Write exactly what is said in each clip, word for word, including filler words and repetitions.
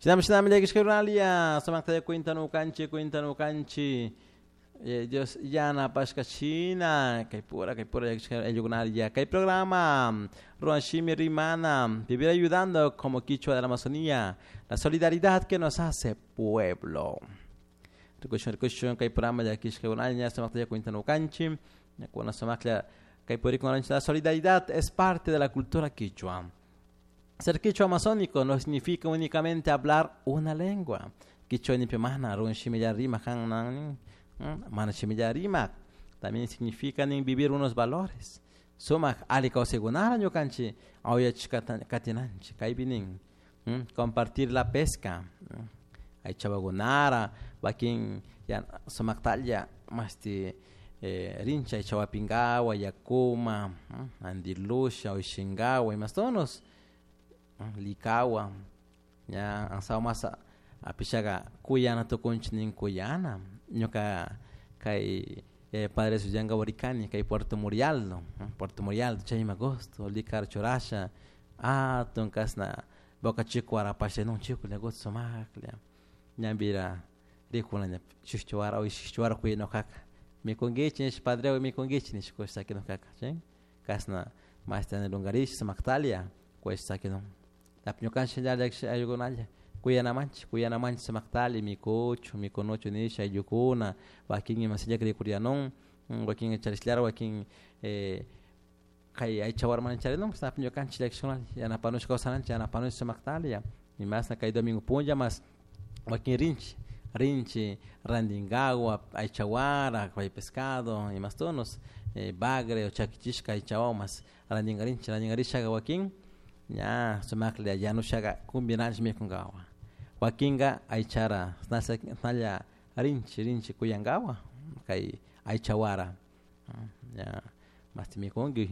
Shinami shinami llakishkakunalia sumakta cuintanukanchik cuintanukanchik eh, Dios yanapashka shina kay pura kay pura llakishka ayllukunalia kay programa Ruanshimi Rimana, vivir ayudando como Quichua de la Amazonía, la solidaridad que nos hace pueblo. Rikushun rikushun kay programa llakishkakunalia sumakta cuintanukanchik kuna sumakla kay purikunanchik la solidaridad es parte de la cultura quichua. Ser quichua amazónico no significa únicamente hablar una lengua. Quichua ni mana run shimilla rima han mana shimilla rima. También significa vivir unos valores. Sumak ali kawsaykunara ñukanchik awyachish katinanchik kaypi nin compartir la pesca aychawakunara wakin sumaktalla mashti eh, rinchik aycha wapinkawa yakuma antilusha ushinkawa imastonos likawa ña asawa masa apishaka kuyana tukunchik nin kuyana ñuka kay eh, Padre Suyanka rikani kay Puerto Murialdo Puerto Murialdo chayma gusto likar churasha atun kashna bocachico warapasha nun chikula gusto sumaklla ñambira rikuna ña shuk wara o shuk wara kuyanukaka mikunkichik nish padre mikunkichik nish kush sakinukaka chay kashna mashti lungarisha sumaktalia kush sakinun ñukanchik ayllukunalla kuyanamanchik kuyanamanchik sumaktali mikuchun mikunuchun nisha ayllukuna wakin imasillaka rikurianun wakin charishlara wakin eh, kay aycha warmana charinun ñukanchik llakishkunalla yanapanush kawsananchik yanapanush sumaktali imasna kay domingo punlla mas wakin rinchik rinchik rantinkawa aycha wara kay pescado imastonos eh, bagre o chakichishka aychawawan mas rantinkarinchik rantinkarishaka wakin ña sumaklla yanushaka kumbinanchik mikunkawa wakinka aychara nalla rinchik rinchik kuyankawa kay aycha wara ña mashti mikunki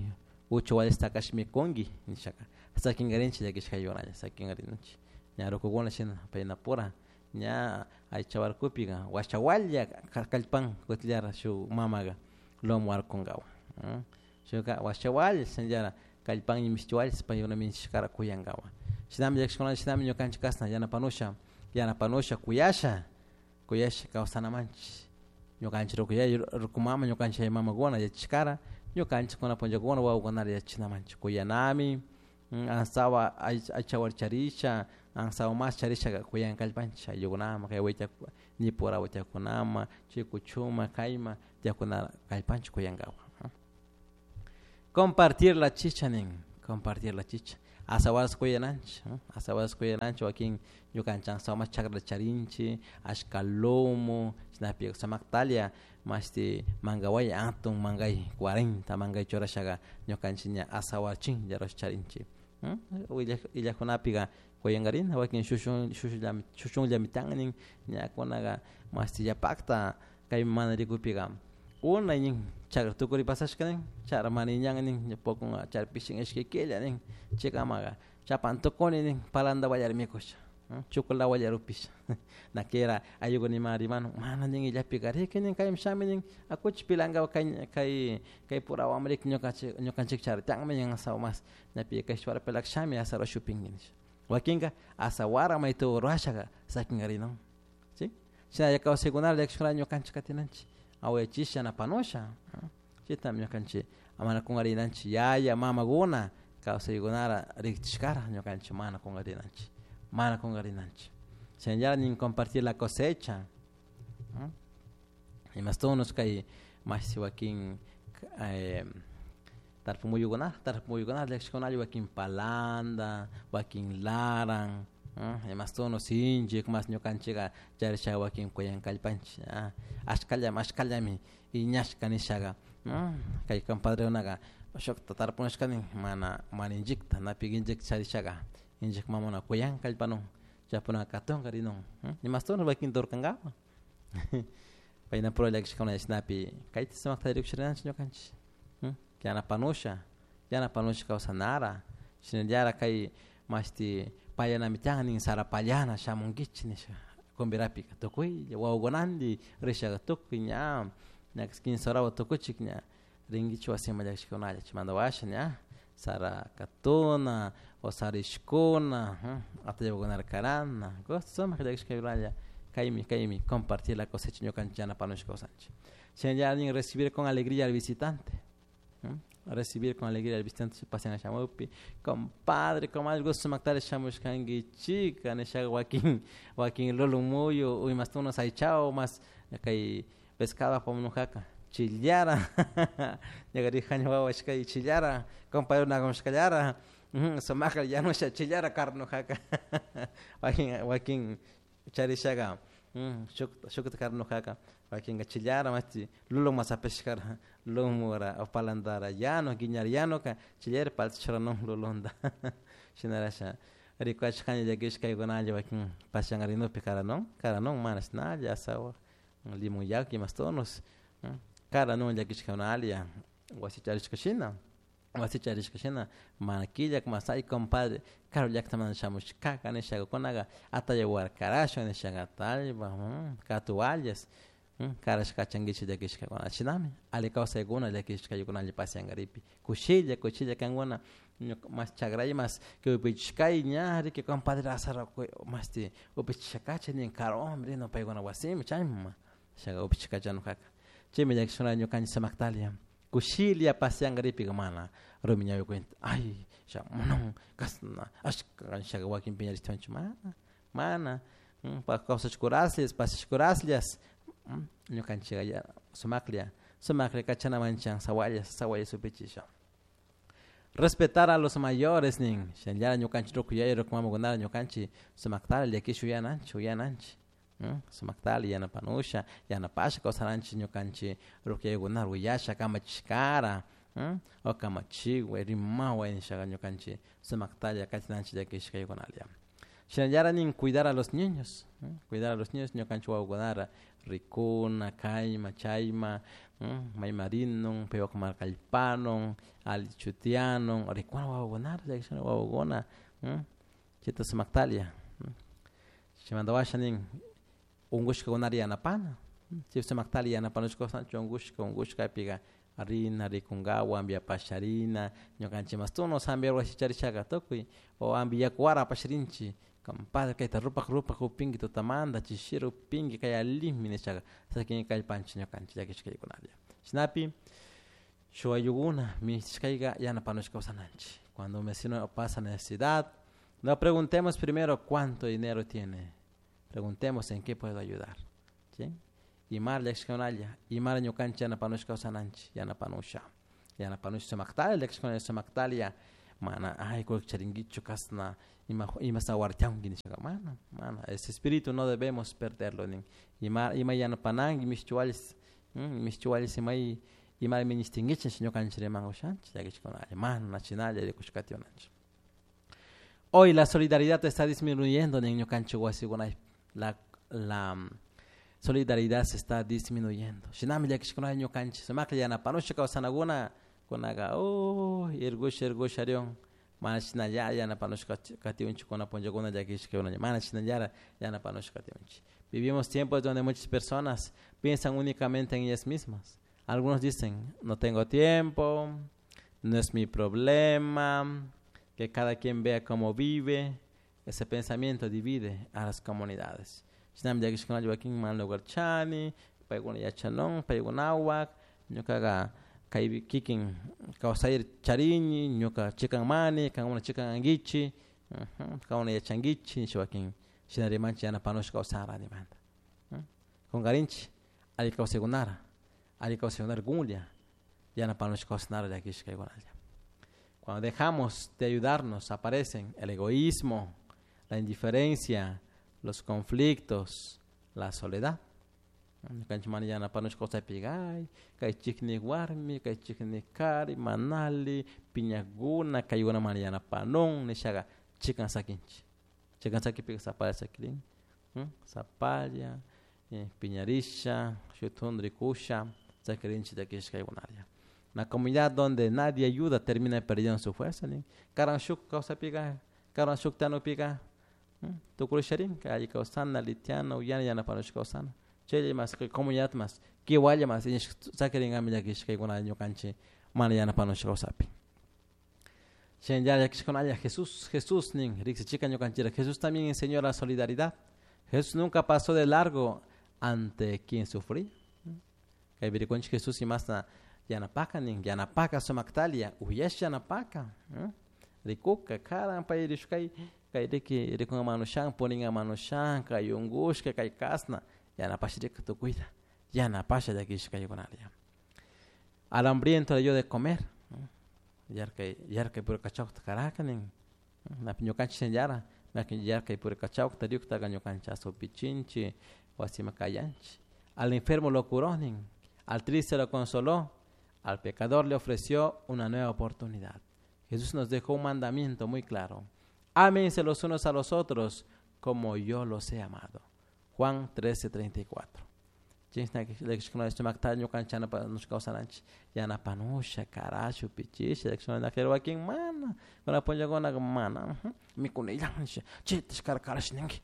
ucha wallistakash mikunki nishaka sakinkarinchik llakishka ayllukunalla sakinkarinchik ña rukukuna shina paynapura ña aycha warkupika washawalla kallpan kutillara shuk mamaga lomo warkunkawa shuka washawalla shinallara kallpan mishti paykuna minchishkara kuyankawa shinami llakishkunalla shinami ñukanchik kashna yanapanusha yanapanusha kuyasha kuyasha kawsanamanchik ñukanchik ruku yaya ruku mama ñukanchik yaya mamakuna yachashkara ñukanchik kuna punllakuna wawakunata yachachinamanchik kuyanami asawa aycha charisha asawa mas charishaka kuyan kallpanchik ayllukunaman kay wayta nipura waytakunaman chay kuchuma kayma tiyakuna kallpanchik kuyankawa. Compartir la chicha nin compartir la chicha asawas kuyananchik asawas kuyananchik wakin ñukanchik asawa mas chakrata charinchik ashka lomo chashnapi sumaktalia mashti mankawaya atun mankay cuarenta mankay churashaka ñukanchik ña asawa chinlla rurash charinchik illakunapika kuyankarina wakin shushun shushullami shushunllami tiyan nin ñakunaka mashti yapakta kay mana rikupika unay nin chakra tukuri pasashka nin chara mana iñan nin poco chara pishin ishkay killa nin chaykamaka chapan tukuni nin palanda wallar mikusha chukula wallar upisha nakera ayllukuna rimanu mana nin illapika riki nin kaymi shami nin akuchik pilankawa kay kay kay purawan riki ñukanchik ñukanchik chara tiyanmi nin asawa mas ñapi kay pelak shami asara shupinki nisha wakinka asawara mayta rurashaka sakinkarinun si shinalla kawsaykunata llakishkunata ñukanchik katinanchik awayachisha yanapanusha chaytami ñukanchik mana kunkarinanchik yaya mamakuna kawsaykunara rikchishkara ñukanchik mana kunkarinanchik mana kunkarinanchik shinallara nin compartir la cosecha imastunos kay mashi wakin eh, tarpumuyukunata tarpumuyukunata llakishkunalla wakin palanda wakin laran imastunos sinchik mas ñukanchika charishaka wakin kuyan kallpanchik ashkallami ashkallami iñashka nishaka kay compadrekunaka shukta tarpunashkani mana mana inchikta napi inchik charishaka inchik mamuna kuyan kallpanun chaypuna katunka rinun imastunos wakin turkankawa paynapura llakishkuna chashnapi kayta sumakta rikuchirinanchik ñukanchik yanapanusha yanapanusha kawsanara shinallara kay mashti pallanami tiyan nin sara pallana shamunkichik nisha kumbirapika tukuylla wawakunanti rishaka tukuy ña ña quince horawan tukuchik ña rinkichik wasiman llakishkunalla chaymanta washa ña Sara katuna o sara ishkuna atallawakunara karana gusto sumak llakishkaykunalla kaymi kaymi compartir la cosecha ñukanchik yanapanushka kawsanchik. Shinallara recibir con alegría al visitante, recibir con alegría al visitante pasian shamukpi compadre, comadre gusto sumaktari shamushkankichika nishaka wakin wakin lulun muyu o imashtunas aychawan mas kay pescado apamunujaka chillara ñuka rijani wawa kay chillara compadre najamushkallara sumakla yanusha chillara karanujaka wakin wakin charishaka shuk shukta karanujaka wakinka chillara mashti lulun mas apishkara lumura o palantara yanu guiñara yanuka chillara palta churanun lulunta shinarasha rikuachkani llakishka kaykunalla wakin pashangarinukpi karanun karanun mana shinalla ashawa limon yaku imastunos karanun llakishkakunalla wasi charishka shina wasi charishka shina mana killak mas ay compadre karu llaktamanta shamushkaka nishakakunaka atallawara karashun nishaka atallpa katuallas karashka kachankichik llakishkakuna shinami alli kawsaykuna llakishkaykunalla pasiankaripi kushilla kushilla kankuna ñuka mas chakray mas upichishkay ña riki compadre asara mashti upichishakachi nin karuwanmi rin paykuna wasimi chayma shaka upichishkachanujaka chaymi llakishkuna ñukanchik sumaktalia kushilla pasiankaripika mana rumi ñawi cuenta ay shamunun kashna ashka nishaka wakin piñarishtiwanchik mana mana kawsashkuraslla pasiashkuraslla ñukanchik sumaklla sumaklla kachanamanchik sawalla sawalla supichisha. Respetar a los mayores nin shinallara ñukanchik ruku yaya ruku mamakunata ñukanchik sumaktala llakish uyananchik uyananchik sumaktala yanapanusha yanapasha kawsananchik ñukanchik ruku yayakunata uyasha kamachishkara o kamachiway rimaway nishaka ñukanchik sumaktalla katinanchik llakishkaykunalla. Shinallara nin cuidar a los niños, cuidar a los niños ñukanchik wawakunara rikuna kayma chayma mayma rinun paypak kallpanun alli chutianun rikuna wawakunara llakishkuna wawakuna chayta sumaktalla chaymanta washa nin unkushkakunata yanapana chay sumaktalla yanapanushka kawsanchik unkushka unkushkapika rina rikunkawan ambiapasha rina ñukanchik mashtunos hambi wasi charishaka tukuy o ambi yakuwara apashrinchik compadre kayta rupak rupak upinki tutamanta chishira upinki kay allimi nishaka sakin kallpanchik ñukanchik llakishkaykunalla chashnapi shuk ayllukuna minishtishkayka yanapanushka kawsananchik. Cuando un vecino pasa necesidad, no preguntemos primero cuánto dinero tiene, preguntemos en qué puedo ayudar, ¿sí? Imara llakishkakunalla imara ñukanchik yanapanushka kawsananchik yanapanusha yanapanusha sumaktalla llakishkuna sumaktalla mana ay kullki charinkichu kashna ima imashta wartianki nishaka mana mana ese espíritu no debemos perderlo nin ima ima yanapananki mishchiwallis mishchiwallis imay imara minishtinkichik ñukanchik riman ushanchik llakishkunalla mana shinalla rikushkatiwananchik. Hoy la solidaridad está disminuyendo nin ñukanchik wasikunaypi la la solidaridad se está disminuyendo. Shinami llakishkunalla ñukanchik sumaklla yanapanusha kawsanakuna kunaka uy irgusha irgusha riun mana shinalla yanapanushka katiunchik kuna punllakuna llakishkakuna mana shinallara yanapanushka katiunchik. Vivimos tiempos donde muchas personas piensan únicamente en ellas mismas. Algunos dicen, no tengo tiempo, no es mi problema, que cada quien vea cómo vive. Ese pensamiento divide a las comunidades. Shinami llakishkunalla wakin mana lugar chani, paykuna yachanun, paykunawan, ñukaqa kaypi kikin kawsayri charini, ñuka chikanmani, kankuna chikan ankichik, kankuna yachankichik nisha wakin shina rimanchik yanapanushka kawsara nimanta. Kunkarinchik alli kawsaykunara, alli kawsaykunara kunlla yanapanushka kawsanara llakishkaykunalla. Cuando dejamos de ayudarnos aparecen el egoísmo, la indiferencia, los conflictos, la soledad. Ñukanchik mana yanapanushka kawsaypika ay kay chiknik warmi, kay chiknik kari, manali, piñakuna, kaykuna mana yanapanun nishaka chikan sakinchik. Chikan sakipika sapalla sakirin, sapalla, piñarisha, shuk tundu rikusha, sakirinchik llakishkaykunalla. Una comunidad donde nadie ayuda termina perdiendo su fuerza. Karan shuk kawsaypika, karan shuk tanupika, tukurisharin, alli kawsana, litiana, uyana, yanapanushka kawsana. Chaylla mas comunidad mas, kiwalla mas, sakirinami llakishkaykuna ñukanchik mana yanapanushka kawsaypi. Jesús, Jesús nin, Jesús también enseñó la solidaridad. Jesús nunca pasó de largo ante quien sufría. Jesús y más yanapaka nin, yanapaka sumaqtalia, uyash yanapaka. Rikuka, karan pay rishkay, kay riki rikunga manushan, puringa manushan, kay ungushka, kay kasna, yanapashrika tukuyta, yanapasha llakishkaykunalia. Al hambriento le dio de comer. Yarkay, yarkay pura kachawta karaka nin. Napi ñukanchik shinallara, yarkay pura kachawta riyuktaqa ñukanchik asupichinchik, wasima kayanchik. Al enfermo lo curó nin, al triste lo consoló, al pecador le ofreció una nueva oportunidad. Jesús nos dejó un mandamiento muy claro. Ámense los unos a los otros como yo los he amado. Juan trece treinta y cuatro. Yanapanusha, karashu, pichisha, wakin mana, kuna mana, mikunillan, chitish karash ninki,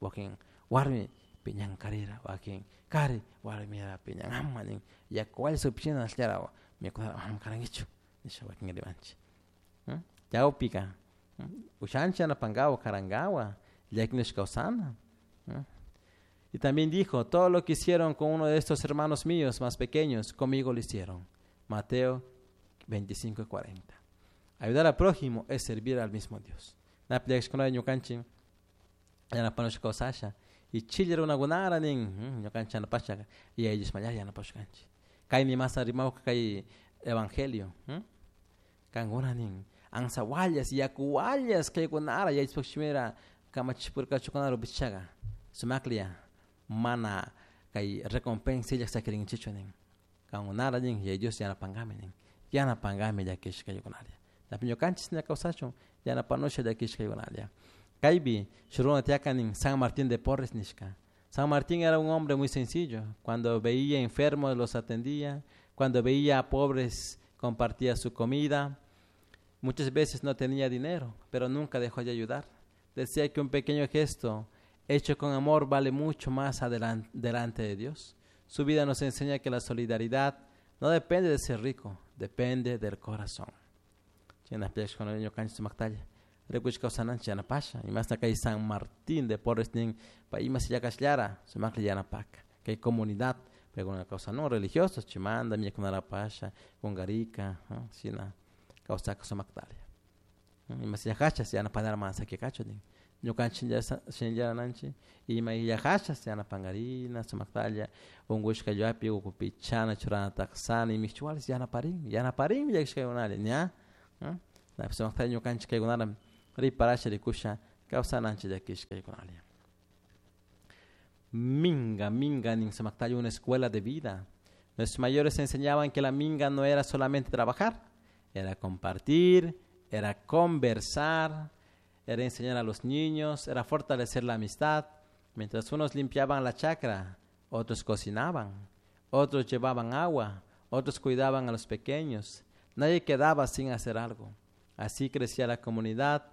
wakin warmi piñankarira, wakin kari warmira piñanama nin, yakuwal supichina allara mikunara karankichu, nisha wakin rimanchi. Chawpika, ushanchi yanapankawa, karankawa, llakinush kawsana. Y también dijo, todo lo que hicieron con uno de estos hermanos míos más pequeños, conmigo lo hicieron. Mateo veinticinco cuarenta. Ayudar al prójimo es servir al mismo Dios. Y chile runakunara nin, ñukanchik yanapashaka, y ellos mayar yanapashkanchik. Kaymi mas rimawka kay evangelio. Kankuna nin, ansawallas, yakuwallas kaykunara, yachpakshimira kamachipurkachukunara rupichaga. Sumaklia mana kay recompensa illak sakirinchichu nin. Kankunara nin, y Dios yanapangami nin. Yanapangami llakishkaykunaria. Napi ñukanchik ña kawsachun, yanapanusha llakishkaykunaria. Kaypi, shuruna tiyaka nin San Martín de Porres nishka. San Martín era un hombre muy sencillo. Cuando veía enfermos los atendía. Cuando veía a pobres compartía su comida. Muchas veces no tenía dinero, pero nunca dejó de ayudar. Decía que un pequeño gesto hecho con amor vale mucho más adelante, delante de Dios. Su vida nos enseña que la solidaridad no depende de ser rico, depende del corazón. Y más acá San Martín de Porres nin pa ima sillakashllara sumakli yanapaka. Kay comunidad, pero una cosa no religiosos, chimanda, mikunarapasha, kungarika, shina kawsaka sumaktalia. Ima sillakachas yanapanara mana sakikachu nin. Ñukanchik shinllarananchik ima illakachas yanapankarina sumaktalla unkushka llapi ukupichana churana taqsana imikchuwalis yanaparin yanaparinmi llakishkaykunalla ña sumaktalla ñukanchik kaykunara riparasha rikusha kawsananchik llakishkaykunalla. Minga, minga nin sumaktalla una escuela de vida. Nuestros mayores enseñaban que la minga no era solamente trabajar, era compartir, era conversar, era enseñar a los niños, era fortalecer la amistad. Mientras unos limpiaban la chacra, otros cocinaban, otros llevaban agua, otros cuidaban a los pequeños. Nadie quedaba sin hacer algo. Así crecía la comunidad.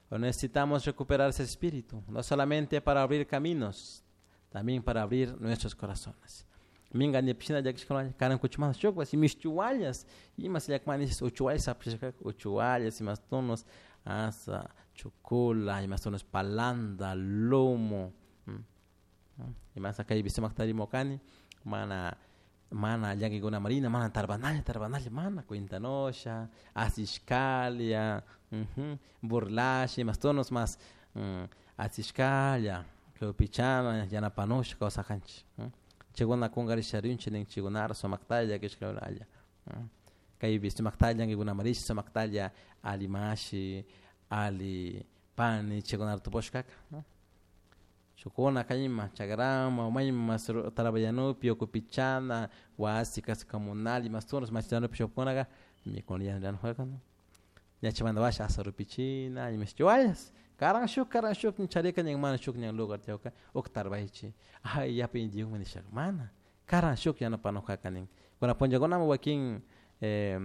Hoy necesitamos recuperar ese espíritu, no solamente para abrir caminos, también para abrir nuestros corazones. Minga ni piscina llakishkuna karan kuchumanta shukpas y mishchuwallas imas llakmanis uchuwallas apishkak uchuwallas imas tunos asa chukula imas tunos palanda lomo imas kaypi sumakta rimukani mana mana llakikuna marina mana tarbanalla tarbanalla mana cuentanosha asishkalia burlash imas tunos mas asishkalla pichana yanapanusha kawsakanchik chikuna kunkarisharinchik nin chikunara sumaktalla llakishkakunalla kaypi sumaktalla llankikuna marish sumaktalla ali mashi ali pani chikunara tupushkaka shukuna kayma chakrama mayma tarabayanupi ukupichana wasi casa comunal imas tunos machillanupi shukunaka mikunallanujaka ñachimanta washa asarupichina imashchiwallas karan shuk karan shuk charika ñan mana shuk ñan lugar tiyawka uk tarbaychi ay yapa indiyukmi nishaka mana karan shuk yanapanujaka nin kuna punllakunami wakin eh,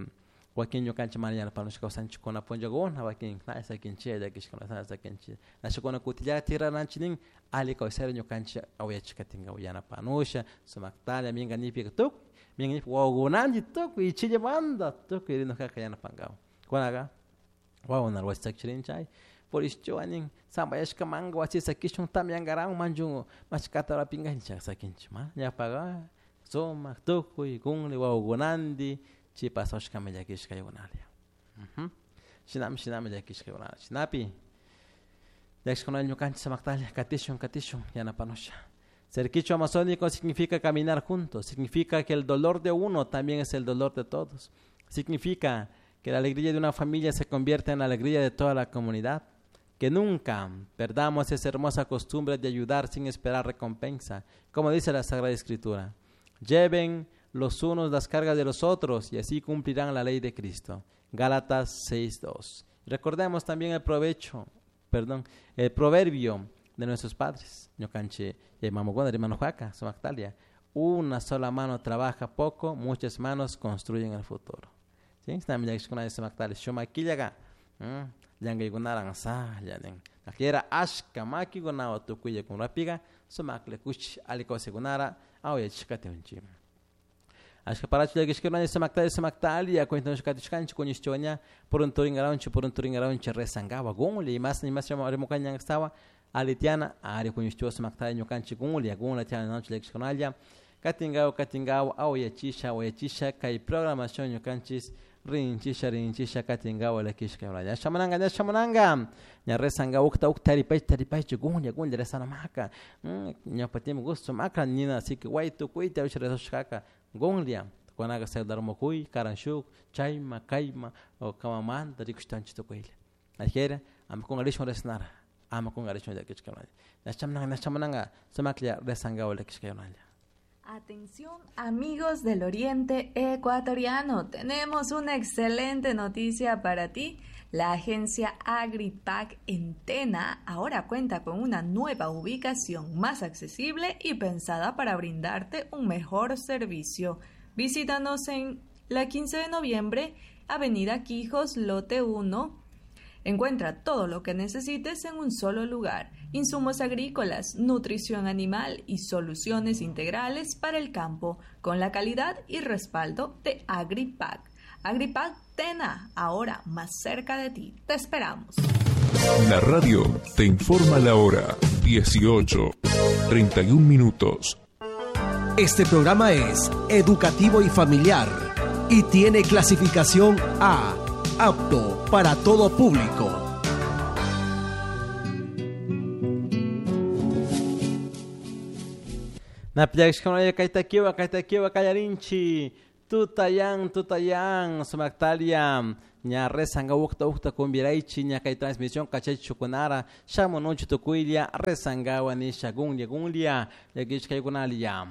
wakin ñukanchik mana yanapanushka kawsanchik kuna punllakuna wakin na sakinchik llakishkuna na sakinchik nashukuna kutillata tirananchik nin alli kawsayta ñukanchik awayachikatinka yanapanusha sumaktalla minka nipika tukuy minka nipi wawakunanchik tukuy ichillamanta tukuy rinukaka yanapankawa kunaka Wawa wasi sakirincha purishchuanin sambayashka manga wasi sakishun tamyankaran manchun mashkata rapinkanchik sakinchik ma ñawpaka sumak tukuy kunli wawakunanti chay pasashkami llakishkaykunalla. Shinami shinami llakishkaykunalla shinapi llakishkunalla ñukanchik samaktalla katishun katishun yanapanusha. Ser quichua amazónico significa caminar juntos, significa que el dolor de uno también es el dolor de todos, significa que la alegría de una familia se convierte en la alegría de toda la comunidad, que nunca perdamos esa hermosa costumbre de ayudar sin esperar recompensa, como dice la Sagrada Escritura. Lleven los unos las cargas de los otros y así cumplirán la ley de Cristo. Gálatas seis dos. Recordemos también el provecho, perdón, el proverbio de nuestros padres. Ñukanchik mamukuna rimanujuaka, sumaktalia. Una sola mano trabaja poco, muchas manos construyen el futuro. ¿Sí? Shumakillaga, llankaykunaran salla nin. Nakiera ashka makikunawan tukuylla kunrapiqa sumaklla kushi alli kawsaykunara awayachishkatiunchik. Ashka parachu llakishkuna sumaktalia sumaktalia cuentanchik kuñishchuaña purunturinkaranchik purunturinkaranchik rezankawa kunlla imas imas rimukanñankastawa alitiana ari kuñishchuwa sumaktalia ñukanchik kunlla kunlla tiyananchik llakishkunalla katinkawa katinkawa awayachisha awayachisha kay programación ñukanchik rinchisha rinchisha katinkawa llakishka ña shamunanka ña shamunanka ña rezanka ukta ukta taripay taripaychu kunlla kunlla rezanamaka ñawpa tiempo gusto maka nina así que way tukuyta usha rezushkaka kunlla kunaka celular mukuy karan shuk chayma kayma o kamamanta rikushtanchik tukuylla ajera ama kunkarishun rezanara ama kunkarishun llakishka ña shamunanka ña shamunanka sumaklla rezankawa llakishkaykunalla. Atención amigos del Oriente Ecuatoriano, tenemos una excelente noticia para ti. La agencia AgriPac en Tena ahora cuenta con una nueva ubicación más accesible y pensada para brindarte un mejor servicio. Visítanos en la quince de noviembre, Avenida Quijos, Lote uno. Encuentra todo lo que necesites en un solo lugar. Insumos agrícolas, nutrición animal y soluciones integrales para el campo, con la calidad y respaldo de AgriPac. AgriPac Tena, ahora más cerca de ti. Te esperamos. La radio te informa la hora dieciocho, treinta y un minutos. Este programa es educativo y familiar y tiene clasificación A, apto para todo público. Napillaxcunaya kaytakiwa kaytakiwa kallarinchi tutayan tutayan sumaktalia ña rezanga ukta ukta kumbiraichi ña kay transmisión kachaychukunara shamunuchu tukuylla rezangawa nisha gunlia gunlia llakishkaykunalia.